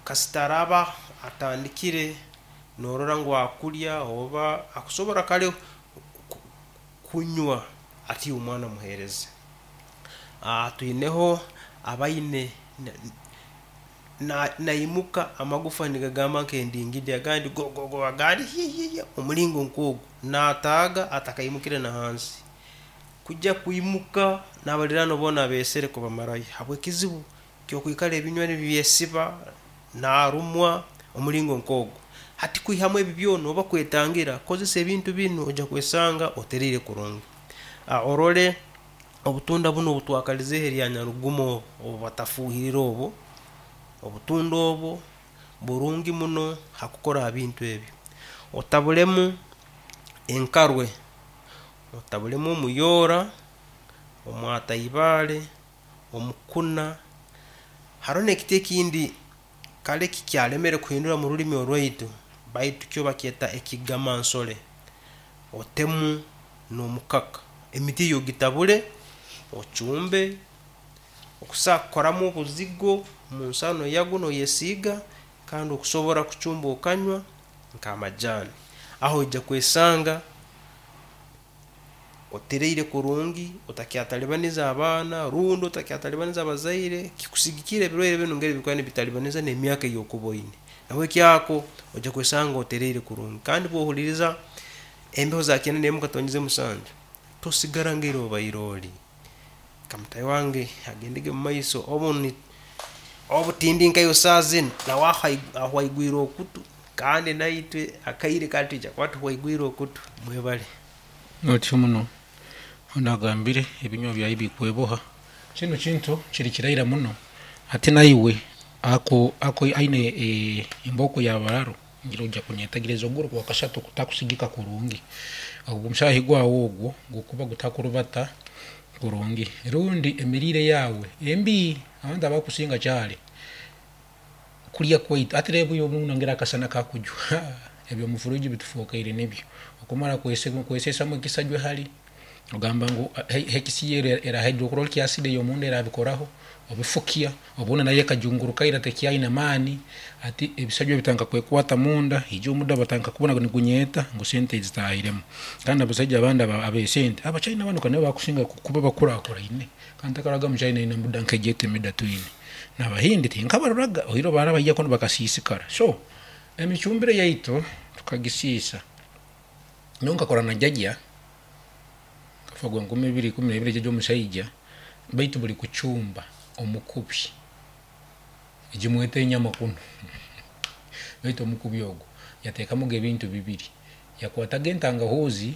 Kasita araaba atandikire norora ngu akulya oba akusobora kale kunywa ati omwana muheereze. Twineho abaine naimuka amagufa nigagamba nk'endingidi agandi gogogo agandi hihihi omulingo nk'ogu nataaga atakaimukire na hansi. Kujya kwimuka n'abaliraanwa boona abeesere kubamarayo habw'ekizibu ky'okwikara ebinywa nibyesiba narumwa omulingo nk'ogu. Hati kwihamu ebi byona oba kwetangira kozesa ebintu binu oija kwesanga oteriire kurungi. Orole obutunda bunu obutwakalizeeho erya nyarugumo obu batafuuhirire obu, obutunda obu burungi muno ha kukora ha bintu ebi. Otabulemu enkarwe, otabulemu omuyoora, omwataibaale, omukuna, haroho n'ekiti ekindi kale kikyalemere kuhindura mu rulimi orwaitu baitu kyo bakyeta ekigamansole, otemu n'omukaka. Emiti eyo ogitabule, ocumbe, okusobora kukoramu obuzigo mu nsaano yabwo noyesiiga kandi okusobora kucumba okanywa nk'amajaani. Aho oija kwesanga otereire kurungi, otakyatalibaniza abaana rundi otakyatalibaniza abazaire, kikusigikirra ebirwaire binu engeri bikuba nibitalibaniza n'emyaka ei okuba oine. Nahabweki ako oija kwesanga otereire kurungi. Kandi obu ohuliiriza embeho za kyenda n'emu katonyeze musanju, tosigara ngeri obaire oli. Nka mutaahi wange agendege mumaiso obu obu tindi nkaiwe saaha zinu, nawe ahwaigwire okutu kandi naitwe akaire kanu twija kuba tuhwaigwire okutu. Mwebale. Otyo muno. Onu agambire ebinywa byaye bikweboha. Kinu kintu kiri kiraira muno hati naiwe ako ako aine embooko ya bararu ngira oija kunyetagereza oguru gwakashatu kutakusigika kurungi. Ogwo omushahi gwawe ogwo gukuba gutakurubata kurungi rundi emiriire yaawe embi. Abantu abakusinga kyari kulya kwaitu hati reeba obu ngira akasana kakujwa eby'omu fridge bitufookaire nibyo. Okumara kwesesamu ekisajwe hari ogamba ngu hekisiyo era hydrochloric acid ey'omunda erabikoraho obifukya obundi nayo ekajunguruka ira tekyaine maani hati ebisajwa bitandika kwekwata munda haija omuda batandika kubona ngu nigunyeta ngu sente zitahiremu. Kandi abasaija abandi ab'esente abachina banu ka nibo bakusinga kuba bakurakuraine kandi ntakaroraga omuchina aine embuda nk'egi emida twine. N'abahindi tinkabaroraga oihireho baraba baija kunu bakasiisikara. So emicumbire yaitu tukagisiisa. Nyowe nkakora na jajja nkafa gwa 2012 jajja omusaija baitu buri kucumba omukubi egi mwete enyama kunu baitu omukubi ogu yateekamuga ebintu bibiri yakwataga entangahuuzi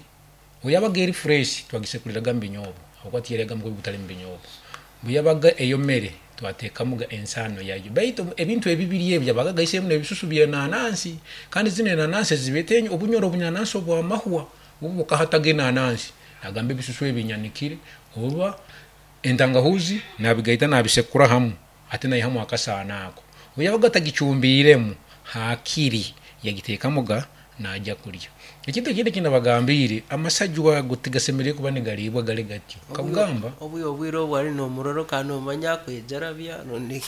obu yabaga eri fresh twagisekuriraga omu binyoobwa ahabw'okuba tiyaryaga mukubi gutari mu binyoobwa obu yabaga eyomere twateekamuga ensaano yayo baitu ebintu ebibiri ebi yabaga agaiseemu n'ebisusu by'enanansi kandi zinu enanansi ezibeeta obunyoro obunyanansi obw'amahwa bwo bukahataga enanansi nagamba ebisusu ebi nyanikire oba entangahuuzi nabigaita nabisekura hamu hati naihamu akasaano ako. Obu yabaga atagicumbiiremu haakiri yagiteekamuga naija kulya. Ekintu ekindi eki nabagambiire, amasajwa ago tigasemeriire kuba nigariibwa gari gatyo. Nkagamba. Obu obwire obu ari nomurora okaba nomanya akwejarabya rundi.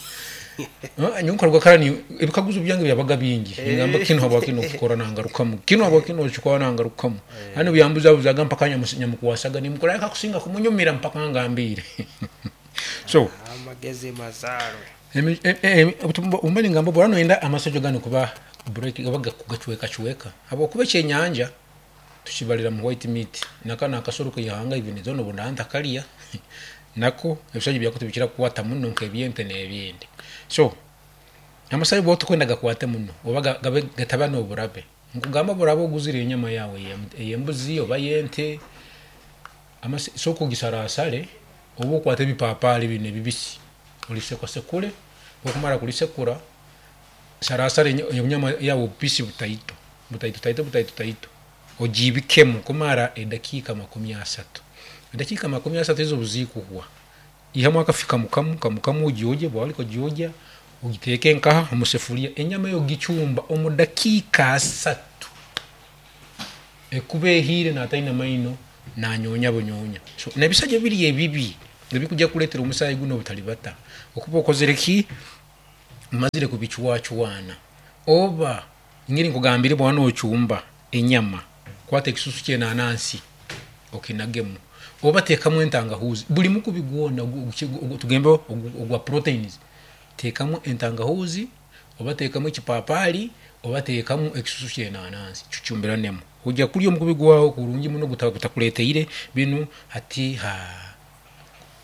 Nyowe nkaruga kara ebikaguzo byange byabaga bingi ningamba kinu habwaki nokikora nangarukamu, kinu habwaki nokikora nangarukamu. Kandi obu yambuzabuzaga mpaka nyamukwasaga nimukora akakusinga kumunyumira mpaka angambiire. So. Amagezi mazaarwe. Obu ningamba obu oraba noyenda amasajwa ganu kuba break oba kugacwekacweka habwokuba ekyenyanja tukibarira mu white meat naka nakasoro keihanga even though nobu ndaba ntakarya nako ebisajwa byako tibikira kukwata muno nkebyente nebindi. So amasajwa obu otakwenda gakwate muno oba gabe gataba noburabe nkugamba obu oraba oguzire enyama yawe eyembuzi oba eyente sooka ogisarasare oba okwate ebipapaari binu ebibisi orisekusekure, obu orikumara kurisekura, sarasara enyama yaawe obupiisi butaito, butaito taito butaito taito, ogiibikemu kumara edakiika 30. Edakiika 30 ezo obu zikuhwa, ihamu akafi kamu kamu kamu kamu ogyogye, bwaba orikugyogya ogiteeke nkaha omu sefuriya, enyama eyo ogicumba omu dakiika asatu ekuba ehiire nataine maino nanyoonya bunyoonya. So n'ebisajwa biri ebibi ebikuja kureetera omusaayi gunu obutaribata okuba okozire ki? Mmazire kubicwacwana oba ngeri nkugambire bwaba nocumba enyama kwata ekisusu ky'enanansi okinagemu oba teekamu entangahuzi buri mukubi gwona tugambe ogwa proteins teekamu entangahuzi oba teekamu ekipapaari oba teekamu ekisusu ky'enanansi kicuumbiranemu ojya kurya omukubi gwawe kurungi muno gutakureeteire binu hati haa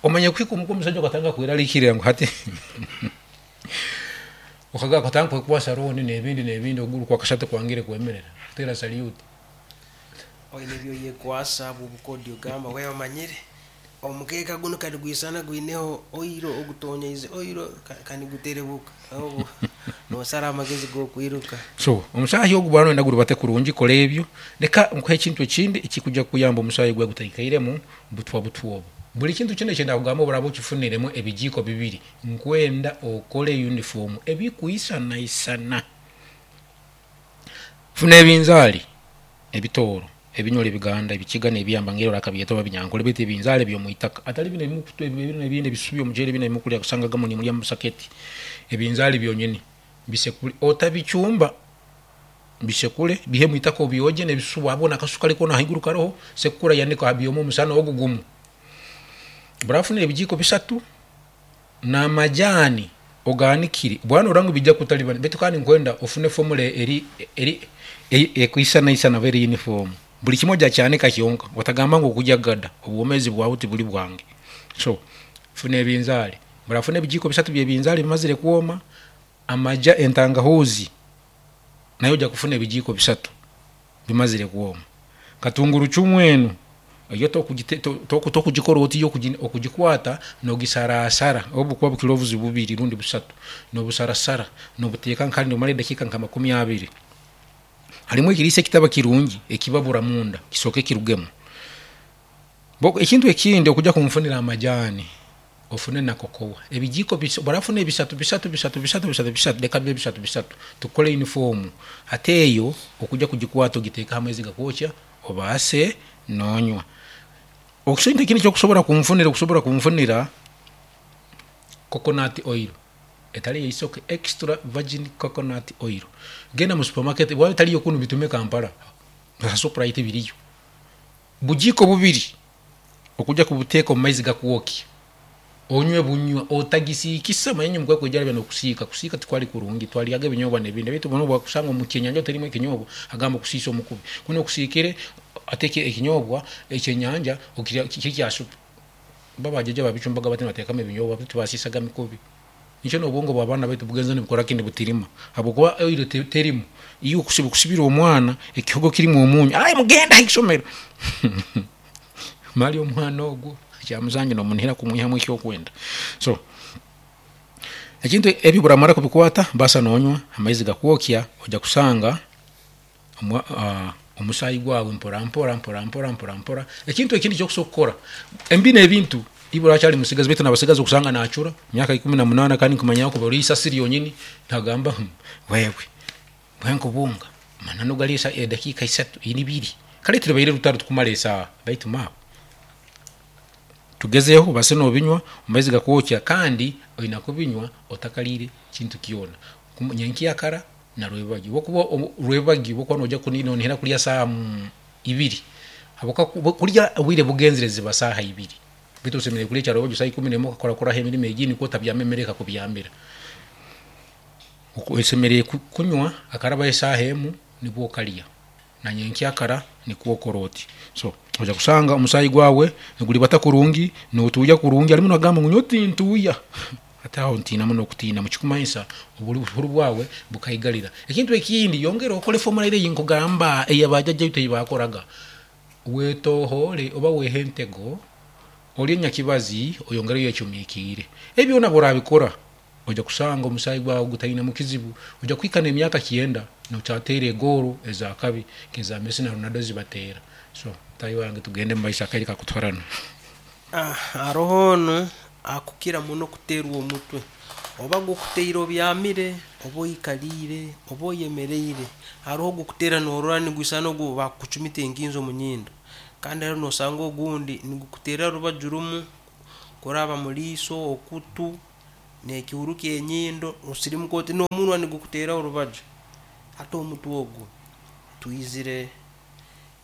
omanya kuhika omuka omusaija okatandika kwerarikirira ngu hati okatandika kwekwasa loan n'ebindi n'ebindi okuguru kwa kashatu kwangire kwemerera kuteera salute. Oine ebi oyekwasa ahabw'obukodyo ogamba wewe omanyire omukeeka gunu kanigwisana gwineho oiro ogutonyeize oiro kaniguterebuka obwo nosara amagezi g'okwiruka. So omusaahi ogu bwaba noyenda gurubate kurungi kora ebyo. Leka nkuhe ekintu ekindi ekikuja kukuyamba omusaahi gwawe gutaikairemu butwa butwa obu. Buri kintu kyona eki ndakugamba obu oraabe okifuniremu ebijiiko bibiri, nkwenda okore yunifoomu ebikwisanaisana. Funa ebinzaali, ebitooro, ebinyoro ebiganda, ebikiga n'ebyamba ngeri orakabyeta oba binyankore beitu ebinzaali eby'omu itaka atari binu ebinu ebindi ebisusu by'omuceeri binu ebimukurya kusanga agamwe nimurya omu busaketi. Ebinzaali byonyini bisekure otabicumba, bisekure biihe omu itaka obyogye n'ebisusu waabona akasusu kari koona ahaiguru kariho, sekura yanika byome omusana ogu gumu. Oraafuna ebijiiko bisatu n'amajaani ogaanikire bwaba norora ngu biija kukutaribana beitu kandi ninkwenda ofune formula eri eri ekwisanaisana oba eri uniform. Buri kimwe ojya kyanika kyonka otagamba ngu okurya gada obwomeezi bwawe tiburi bwange. So funa ebinzaari, orafuna ebijiiko bisatu by'ebinzaari bimazire kwoma, amaja entangahuuzi nayo ojya kufuna ebijiiko bisatu bimazire kwoma. Katungurucumu enu yo tokugikora oti yo okugikwata nogisarasara obu bukuba bukirovuzi bubiri rundi busatu nobusarasara nobuteeka nka nomara edakiika nka makumi abiri. Harimu ekiriisa ekitaba kirungi ekibabura munda kisooke kirugemu. Ekintu ekindi okuja kunfunira amajaani ofune na kokowa ebijiiko orafuna ebisatu bisatu bisatu bisatu bisatu bisatu leka bibe bisatu bisatu tukore yunifoomu hati eyo okuja kugikwata ogiteeke aha maizi gakwokya obaase nonywa. Ekintu ekindi eki okusobora kunfunira okusobora kunfunira coconut oil etari ey'eisoke extra virgin coconut oil genda mu supermarket waaba etariyo kunu bitume Kampala aha Shoprite biriyo. Bujiiko bubiri okuja kubuteeka omu maizi gakwokya onywe bunywa otagisiikisa manya inywe mukwekwejarabya n'okusiika, kusiika tikwari kurungi twaryaga ebinyobwa n'ebindi beitu obu wakusanga omu kyenyanja oterimu ekinyobwa agamba okusiisa omukubi kunu okusiikire ate ekinyobwa ekyenyanja okirya kiri kya supu. Bo abajaja babicumbaga bati nibateekamu ebinyobwa beitu tibasiisaga mikubi. Nikyo n'obwongo bw'abaana baitu bugenza nibukora ki nibutirima habwokuba oil terimu. Iwe kusibira omwana ekihogo kirimu omunyu, ayi mugende aha isomero mali omwana ogwo kyamusanju nomunihira kumwihamu ekyokwenda. So ekintu ebi obu oramara kubikwata baasa nonywa amaizi gakwokya oija kusanga omusaayi gwawe mpora mpora mpora mpora mpora mpora. Ekintu ekindi eki okusobola kukora, binu ebintu iwe orakyari musigazi beitu nabasigazi okusanga nacura emyaka 18 kandi nkumanya kuba ori isasi ryonyini nagamba wewe bwenkubunga amananu gari edakiika isatu ibiri kare tiribaire rutaro tukumara esaaha beitu maawe tugezeho obaase nobinywa omu maizi gakwokya kandi oine kubinywa otakariire kintu kyona nyenkyakara na rwebagyo. Obu okuba rwebagyo obu okuba noija nonihira kurya saaha ibiri habwokuba kurya obwire bugenzire ziba saaha ibiri beitu osemeriire kurya ekyarwebagyo saaha ikumi n'emwe okakorakoraho emirimo egindi nikwo otabyama emere ekakubyamira. Osemeriire kunywa hakarabaho esaaha emu nibwo okarya na nyenkyakara nikwo okora oti. So oija kusanga omusaayi gwawe niguribata kurungi, notuuya kurungi harimu nagamba ngu nyowe tintuuya hati aho ntiina muno okutiina nikikumanyisa obuhuru bwawe bukaigarira. Ekintu ekindi yongera okore formula eri ei nkugamba eya bajajja baitu ei baakoraga, wetohoore oba wehe entego orye nyakibazi oyongere oyecumikiire. Ebi byona obu orabikora oija kusanga omusaayi gwawe gutainemu kizibu, oija kuhika n'emyaka kyenda nokyateera egoolo ez'akabi nk'eza Messi na Ronaldo ezi bateera. So mutaahi wange tugende omu maiso akaire kakutwarana. Haroho onu akukira muno kuteerwa omutwe, oba gukuteire obyamire, oba oikaliire, oba oyemereire, haroho ogukuteera norora nigwisana ogu bakukucumita enkinzo omu nyindo, kandi haroho nosanga ogundi nigukuteerera rubaju rumu kuraba mu liiso, okutu. N'ekihuru ky'enyindo osirimuka oti n'omunwa nigukuteera orubaju. Hati omutwe ogwo twizire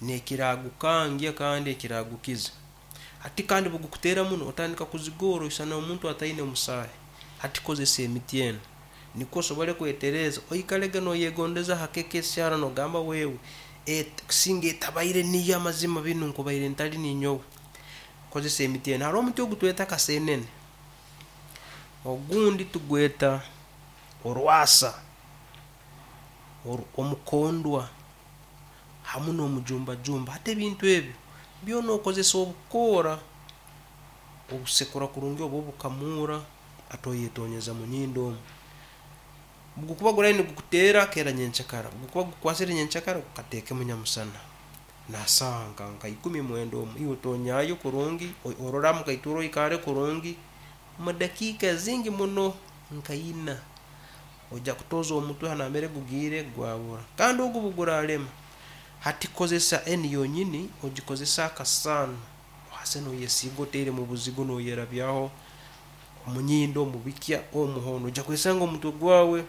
n'ekiragukangya kandi ekiragukiza. Hati kandi bugukuteera muno otandika kuzigoora oisana omuntu ataine musaahi. Hati kozesa emiti enu nikwo osobole kwetereeza oikalege noyegondeza ha KKCR nogamba wewe singa etabaire niyo amazima binu nkubaire ntali ninyowe. Kozesa emiti enu. Haroho omuti ogu tweta kasenene, ogundi tugweta orwasa, omukondwa hamu n'omujumbajumba. Hati ebintu ebyo byona okozesa obukoora obusekura kurungi oba obukamuura ati oyetonyeza munyindo omu. Bugukuba gurayo nigukuteera keera nyenkyakara, bugukuba gukukwasire nyenkyakara gukateekemu nyamusana na saaha nka 19 omu, iwe otonyayo kurungi orole mukaitura oikale kurungi mu dakiika zingi muno nka ina oija kutoza omutwe ha nambere gugiire gwabura. Kandi ogu obuguralema, hati kozesa enu yonyini ogikozese akasaano ohase noyesiiga oteere mu buzigo noyerabyaho omunyindo, omu bikya, omu hoona oija kwesanga omutwe gwawe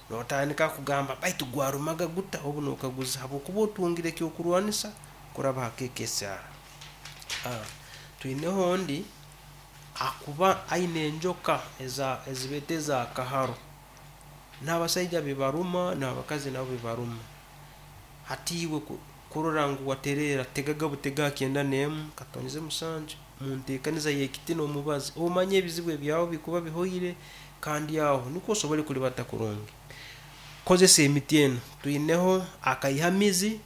notandika kugamba baitu gwarumaga guta obu nokaguza habwokuba otungire ekyokurwanisa kuraba ha KKCR. Twineho ondi akuba aine enjoka ezibeeta eza kaharo. N'abasaija bibaruma n'abakazi nabo bibaruma. Hati iwe kurora ngu watereera tegaga butega ha 91 .7 munteekaniza y'ekiti n'omubazi omanye ebizibu ebyawe bikuba bihoire kandi aho nikwo osobole kulibata kurungi. Kozesa emiti enu, twineho akaihamizi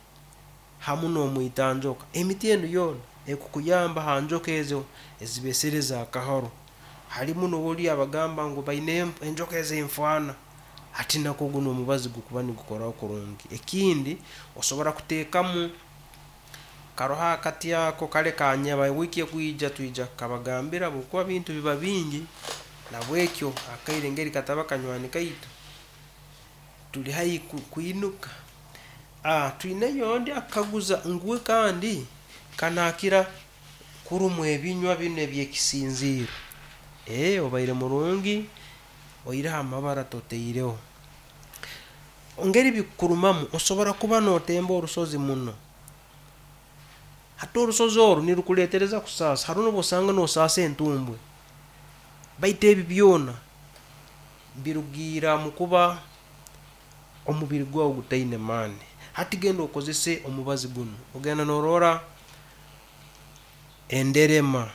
hamu n'omwitanjoka. Emiti enu yoona ekukuyamba ha njoka ezo ezibeesere eza kaharo. Halimu n'oli abagamba ngu baine enjoka ez'enfaana, hati nakwo gunu omubazi gukuba nigukoraho kurungi. Ekindi osobora kuteekamu karoho akati ako kale kanyaba wiiki ekwija twija kukabagambira habwokuba bintu biba bingi nabwekyo akaire engeri kataba kanywani kaitu tuli haihi kwinuka. Twineyo ondi akaguza ngu we kandi kanaakira kurumwa ebinywa binu eby'ekisinziiro. Obaire murungi oihireho amabara totaireho. Engeri bikukurumamu osobora kuba notemba orusozi muno. Hati orusozi oru nirukuleetereza kusaasa, haroho n'obu osanga nosaasa entumbwe. Baitu ebi byona birugiira mu kuba omubiri gwawe gutaine maani. Hati genda okozese omubazi gunu, ogenda norora enderema,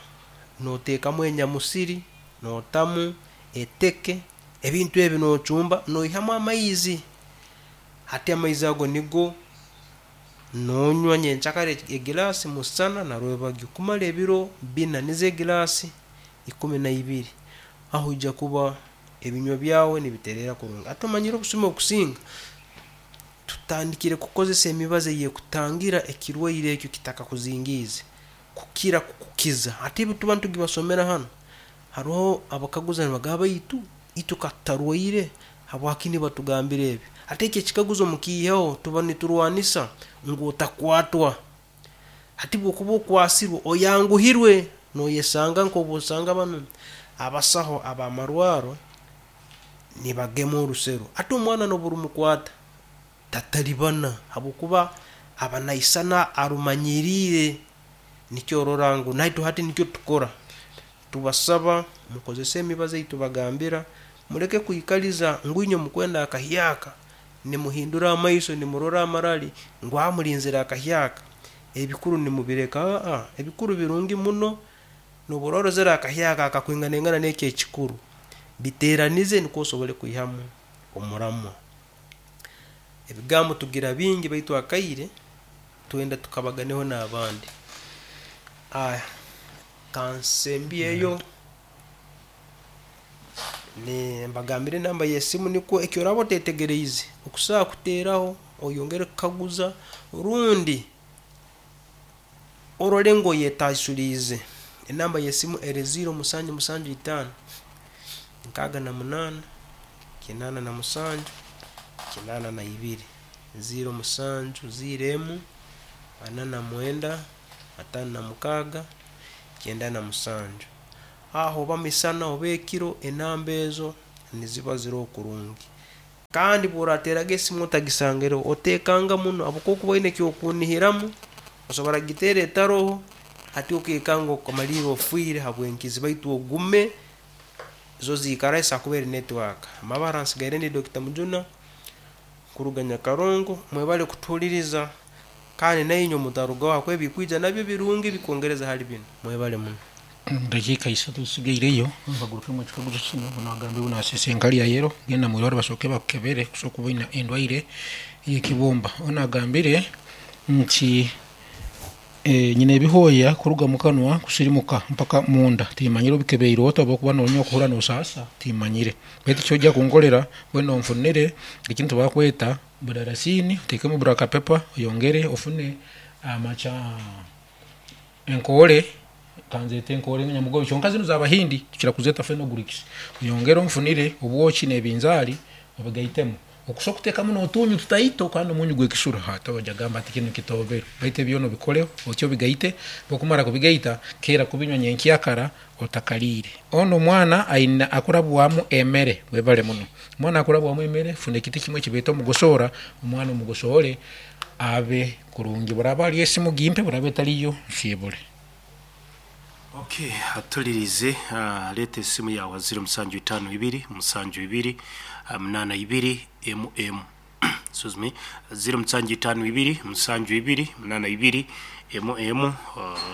noteekamu enyamusiri, notamu eteke, ebintu ebi nocumba noihamu amaizi. Hati amaizi ago nigo nonywa nyenkyakara egilaasi musana na rwebagyo kumara ebiro bina nizo egilaasi 12. Aho oija kuba ebinywa byawe nibitereera kurungi. Hati omanyire obusumi obukusinga tutandikire kukozesa emibazi ey'ekutangira ekirwaire ekyo kitakakuzingiize kukira kukukiza. Hati ebi tuba nitugibasomera hanu, haroho abakaguza nibagamba baitu itwe katutarwaire habwaki nibatugambira ebi? Hati eki ekikaguzo mukiiheho tuba niturwanisa ngu otakwatwa. Hati bwokuba okwasirwe oyanguhirwe noyesanga nk'obu osanga banu abasaho ab'amarwaro nibagema orusero. Hati omwana n'obu rumukwata tatalibana habwokuba aba naisana arumanyiriire nikyo orora ngu naitwe hati nikyo tukora. Tubasaba mukozese emibazi eyitubagambira muleke kwikaliza ngu inywe mukwenda akahyaka nimuhindura amaiso nimurora amarali ngu mulinzire akahyaka ebikuru nimubireka. Ebikuru birungi muno n'obu oraba orozere akahyaka akakwinganaingana n'eki ekikuru biteeranize nikwo osobole kwihamu omuramwa. Ebigambo tugira bingi baitu akaire twenda tukabaganeho n'abandi. Kansembyeyo mbagambire enamba y'esimu nikwo eki oraba otetegereize okusobola kuteeraho oyongere kukaguza rundi orole ngu oyetaasuliize. Enamba y'esimu eri 0775 68 87 82 07 01 49 56 97. Aho oba misana oba ekiro enamba ezo niziba ziroho kurungi. Kandi bworateeraga esimu otagisangireho otekanga muno habwokuba okuba oine ekyokunihiramu osobora kugiteera etaroho hati okekanga okamaliira ofiire habwenkizi baitu ogume zo ziikaraho esobora kuba eri network. Amabara nsigaire ndi Dokita Mujuna kuruga Nyakarongo mwebale kutuhuliriza kandi nainywe mutarugaho habwokuba ebikwija nabyo birungi bikwongereza hali binu. Mwebale muno. Omu dakiika isatu ezisigaireyo, nkagarukemu ekikaguzo kinu, obu nagambire ngu nasiisa enkari ya yero, genda mwirwarro basooke bakukebere kusobora kuba oine endwaire y'ekibumba. Obu nagambire nti nyine ebihooya kuruga mukanwa kusirimuka mpaka munda, timanyire obikebeire ota obu okuba nonywa okuhurra nosaasa, timanyire. Baitu ekyoija kunkolera, weena onfunire ekintu bakweta budarasiini, oteekemu black pepper, oyongere ofune amaca. Enkoore, kanzeete enkoore nyamugobe kyonka zinu z'Abahindi tukira kuzeeta fenugreeks. Oyongere onfunire obwoki n'ebinzaali obigaitemu. Okusa okuteekamu n'otuunyu tutaito kandi omunyu gw'ekisura hati oija kugamba ati kinu kitoobere. Baitu ebi byona obikoleho oti obigaite, obu okumara kubigaita keera kubinywa nyenkyakara otakaliire. Onu omwana aine akurabwamu emere, webale muno. Omwana akurabwamu emere, funa ekiti kimwe ekibeeta omugosoora, omwana omugosoore abe kurungi. Bw'eraaba hariyo esimu gimpe, bw'eraaba etariyo nsiibure. Ok, atulirize, leeta esimu yaawe ha ziro musanju itaano ibiri, musanju ibiri, munaana ibiri, emu emu. Excuse me, ziro musanju itaano ibiri, musanju ibiri, munaana ibiri, emu emu,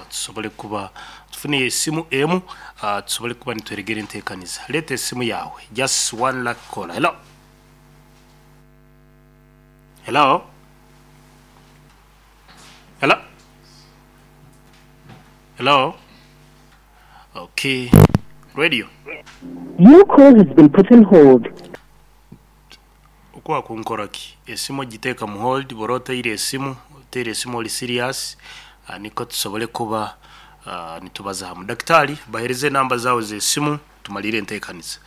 tusobole kuba tufune esimu emu, tusobole kuba nitweregera enteekaniza. Leeta esimu yaawe, just one lucky caller. Hello? Hello? Hello? Hello? Okay. Radio. Your call has been put on hold. Okwa kunkora ki? Esimu ogiteeka mu hold bwora otaire esimu, oteire esimu ori serious nikwo tusobole kuba nitubaza hamu. Dakitari bahereze enamba zaawe z'esimu tumalire entekaniza.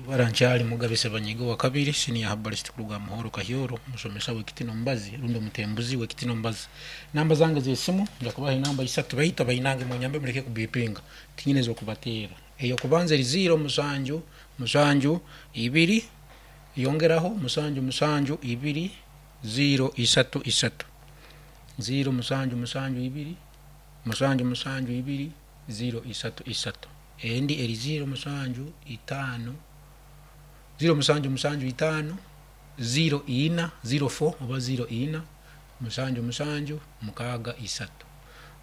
Ibara nkyali Mugabe Sebanyiga owakabiri, Senior Herbalist kuruga aha Muhoro Kahyoro, omusomesa w'ekiti n'omubazi rundi omutembuzi w'ekiti n'omubazi. Namba zange z'esimu nja kubaha enamba isatu baitu abainange munyambe muleke kubipinga, tinyine ez'okubateera. Ey'okubanza eri ziiro musanju musanju ibiri yongeraho musanju musanju ibiri ziiro isatu isatu, ziiro musanju musanju ibiri musanju musanju ibiri ziiro isatu isatu. Endi eri ziiro musanju itaano, ziiro musanju musanju itaano, ziiro ina, ziiro four oba ziiro ina, musanju musanju mukaaga isatu.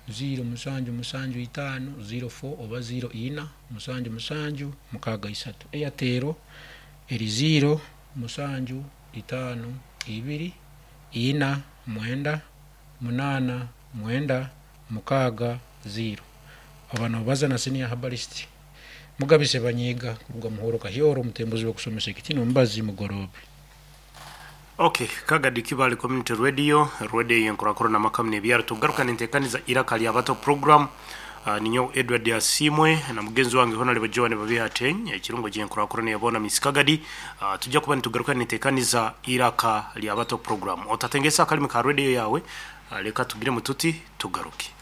Ziiro musanju musanju itaano, ziiro four oba ziiro ina, musanju musanju mukaaga isatu. Airtel eri ziiro musanju itaano ibiri, ina mwenda, munaana mwenda, mukaaga ziiro. Oba nobaza na Senior Herbalist Mugabi Sebanyiga kuruga Muhoro Kahyoro omutembuzi w'okusomesa ekiti n'omubazi Mugoroobe. Ok, Kagadi Kibale Community Radio, radio eyenkurakurana amaka n'ebyaro. Tugaruka nentekaniza Iraka lya Bato program. Ninyowe Edward Asiimwe na mugenzi wange Honorable Joan Babihate, ekirungo kyenkurakurana ya boona Miss Kagadi. Tujja kuba nitugaruka nentekaniza Iraka lya Bato program. Otatengesa akalimi ka radio yawe, leka tugiremu tuti tugaruke.